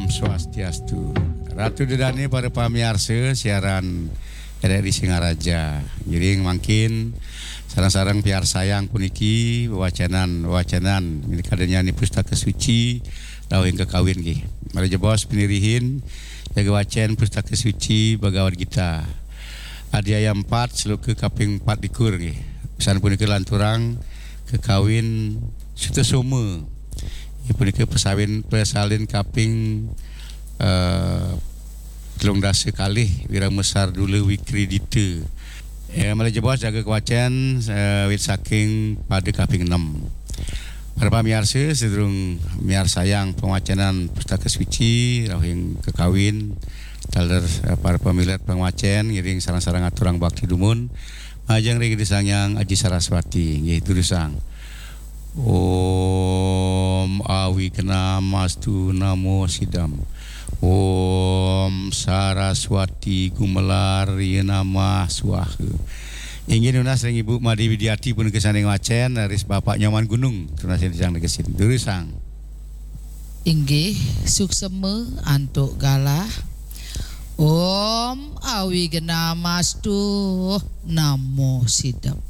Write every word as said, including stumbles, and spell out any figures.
Swastiastu. Ratu Dedane, para pamiarsa siaran R R I Singaraja. Ngiring mangkin sareng-sareng piarsayang puniki wewacenan-wewacenan kadenian Pustaka Suci rauh ing kakawin nggih. Malih jebos pinirihin jaga wacen Pustaka Suci Bhagavad Gita. Adhyaya empat, sloka kaping empat likur nggih. Pisan punika lanturang kakawin Sutasoma. Inggih punika pesawin, pesalin kaping, eh, telung dasa kalih, Wirama Sardula Wikridita. Eh, malih jebos jaga kawacen, eh, wit saking pada kaping enam. Para pamiarsa, sedurung miarsayang pangwacenan Pustaka Suci rauh ing kakawin, taler, eh, para pamilet pangwacen ngiring sareng-sareng aturang bakti dumun majeng ring Ida Sang Hyang Aji Saraswati. Nggih, durusang. Om Awignamastu Namo Sidam. Om Saraswati Gumelar Yenamah Swaha. Inggih nunas ring Ibu Made Widiati punika sane ngwacen, raris Bapak Nyoman Gunung, nunas ring tiang negesin. Durusang. Inggih, suksema antuk galah. Om Awignamastu Namo Sidam.